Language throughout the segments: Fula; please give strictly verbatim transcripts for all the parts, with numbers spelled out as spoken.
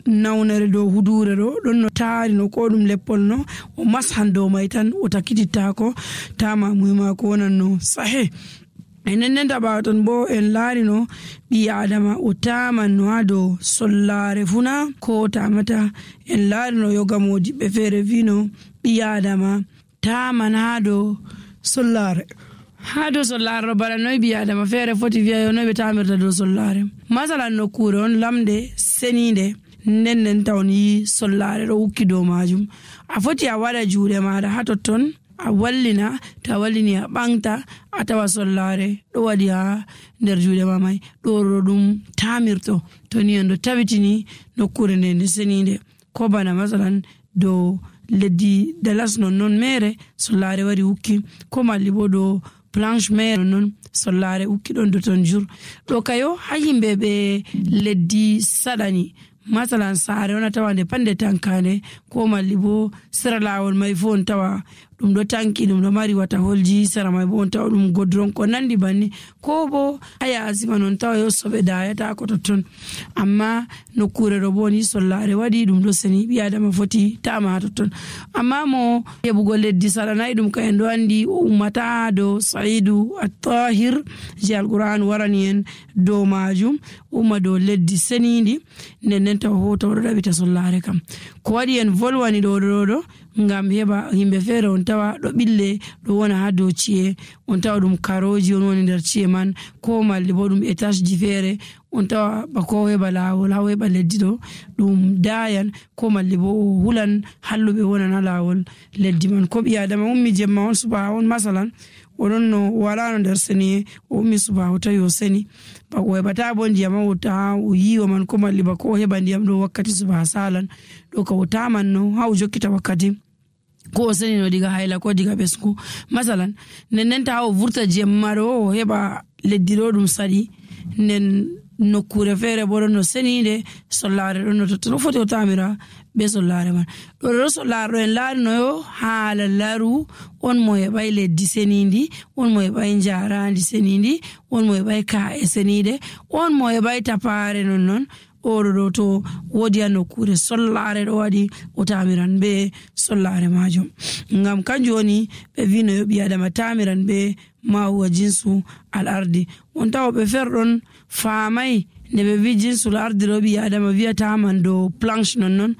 nawnere dow huduure ɗo ɗon no taari no ko ɗum leppol no o mashan dow may tan o takkitittaako. Tamamuye maako wonanno sahe. E nden nden taɓaaton bo en laarino ɓii adama o taamanno haa dow sollaare funa ko o taamata. En laarino yoga moodiɓɓe feere wiino ɓii adama taaman haa dow sollaare. Haa dow sollaare ɗo bana noy ɓii adama feere foti wiya yo noy ɓe taamirta dow sollaare? Masalan nokkuure on lamnde seniinde, nden nden tawon yi sollaare ɗo ukki dow maajum. A foti a waɗa juuɗe maaɗa haa totton, a wallina. To a wallini a ɓaŋta, a tawa sollaare ɗo waɗi haa nder juuɗe ma may. Ɗo ɗo ɗum taamirto to ni en ɗo tawitini nokkuure nde nde seniinde. Ko bana masalan dow leddi dalas non non meere sollaare wari ukki, ko malli bo dow planche meere non non sollaare ukki ɗon do ton jur. Ɗo kayo haa yimɓe ɓe leddi saɗani masalan saare on a tawa nde pande tankande, ko malli bo sera laawol may fo on tawa ɗum ɗo tanki, ɗum ɗo mari wata holji sera may bo on tawa ɗum godron ko nandi banni. Ko bo a yaasi man on tawa yo soɓe dayata ko totton. Amma nokkuure ɗo bo ni sollaare waɗi ɗum ɗo seni ɓii adama foti tama haa totton. Amma mo heɓugo leddi saɗanayi ɗum ka en ɗo anndi o ummata dow sa'idu attahir je alqur'an warani en dow maajum. Umma dow leddi seniindi nden nden taw hoto oɗo ɗaɓita sollaare kam. Ko waɗi en volwani ɗo ɗo ɗo ngam heɓa yimɓe feere on tawa ɗo ɓille ɗo wona haa dow ci'e, on tawa ɗum karooji on woni nder ci'e man. Ko malli bo ɗum étageji feere on tawa ba ko heɓa laawol haa heɓa leddi ɗo ɗum daayan, ko malli bo o hulan halluɓe wonan haa laawol leddi man. Ko ɓii adama ummi jemma on subaa on masalan o ɗon no walaano nder seniye, o ummi subaa o tawi o seni. Ba o heɓata bo ndiyam o taha o yiwa man ko malli ba ko o heɓa ndiyam ɗo wakkati subaa salan. Ɗo ka o tamanno haa o jokkita wakkati ko o senino diga hayla ko diga ɓesngu. Masalan nden nden taha o vurta jemma ɗo o heɓa leddi ɗo ɗum saɗi. Nden nokkuure feere bo ɗon no seniinde sollaare ɗon no totton o foti o tamira be sollaare man. Ɗo ɗo sollaare ɗo en laarinoyo haala laru on mo heɓay leddi seniindi, on mo heɓay njaaraandi seniindi, on mo heɓay ka'e seniide, on mo heɓay tapaare non non. Oɗo ɗo to woodi a nokkuure sollaare ɗo waɗi o tamiran be sollaare maajum. Ngam kanjum woni ɓe wino yo ɓii adama tamiran be ma huwa jinsu al ardi. On tawa ɓe ferɗon faamay nde ɓe wi jinsul ardi ɗo ɓii adama wiyata man dow planche non non.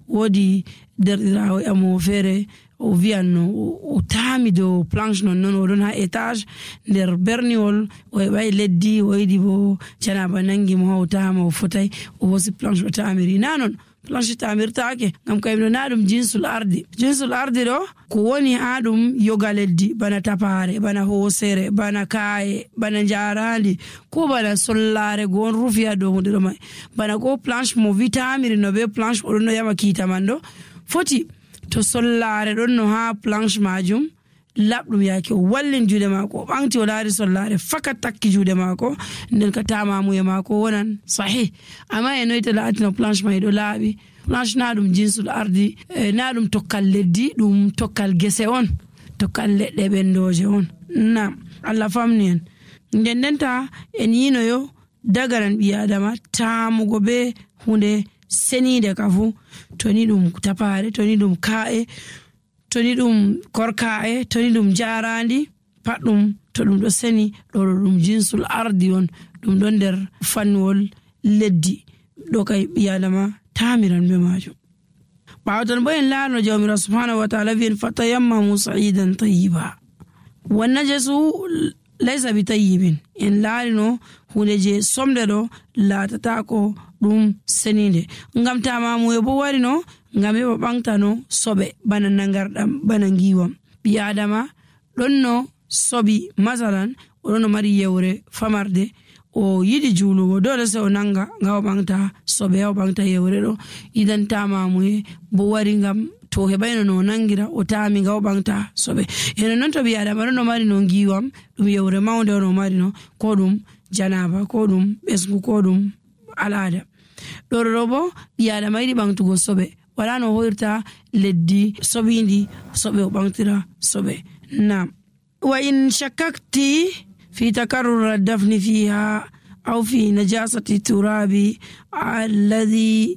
Woodi derɗiraawo amo feere o wiyanno o taami dow planche non non oɗon ha étage nder berniwol o heɓay leddi o yiɗi bo janaba nangi mo ha o taama o fotay o hosi planche o taamiri na non. Planche taamirtaake ngam kayimɗo na ɗum jinsul ardi jinsul ardi ɗo ko woni ha ɗum yoga leddi bana tapaare bana hoosere bana kaaye bana njarandi ko bana sollaare go on rufi ha dow hunde ɗo mai bana ko planche mo wi taamiri no be planche oɗon no yama kiita man ɗo foti to sollaare ɗon no haa planche maajum laɓɗum yaake o wallin juuɗe maako o ɓaŋti o laari sollaare fakat takki juuɗe maako nden ka tamamuye maako wonan sahih. Amma e noyte laatino planche may ɗo laaɓi? Planche na ɗum jinsul ardi e na ɗum tokkal leddi ɗum tokkal gese on tokkal leɗɗe ɓendooje on. Nam allah famni en nden ndenta en yinoyo daganan ɓii adama taamugo be hunde seniinde ka fuu. To ni ɗum tapaare to ni ɗum kaa'e to ni ɗum korkaa'e to ni ɗum njaaraandi pat ɗum to ɗum ɗo seni ɗo ɗo ɗum jinsul ardi on. Ɗum ɗon nder fannuwol leddi ɗo kay ɓii adama taamiran be maajum. Ɓaawo ton bo en laarno jawmira subhanahu wa taala wiyen fatayammamu sa'idan tayyiba. Wanna jesu laysa bi tayyibin en laarino hunde je somde ɗo laatatako ɗum seniinde. Ngam tamamuye bo warino ngam heɓa ɓaŋtano soɓe bana nagarɗam bana ngiwam. Ɓii adama ɗonno soɓi masalan o ɗonno mari yewre famarde o yiɗi juulugo dole sey o nanga nga o ɓaŋta soɓe o ɓaŋta yewre ɗo. Idan tamamuye bo wari ngam to o heɓayno no o nangira o taami nga o ɓaŋta soɓe. Eno non to ɓii adama ɗonno mari no ngiwam ɗum yewre mawnde on o mari no ko ɗum janaba ko ɗum ɓesngu ko ɗum al'ada. Ɗo ɗo bo ɓii adama yiɗi ɓaŋtugo soɓe wala no o hoyrta leddi soɓindi soɓe o ɓaŋtira soɓe. Nam. Wa in shakkakti fi takarrur dafni fiha aw fi najasati turabi alladhi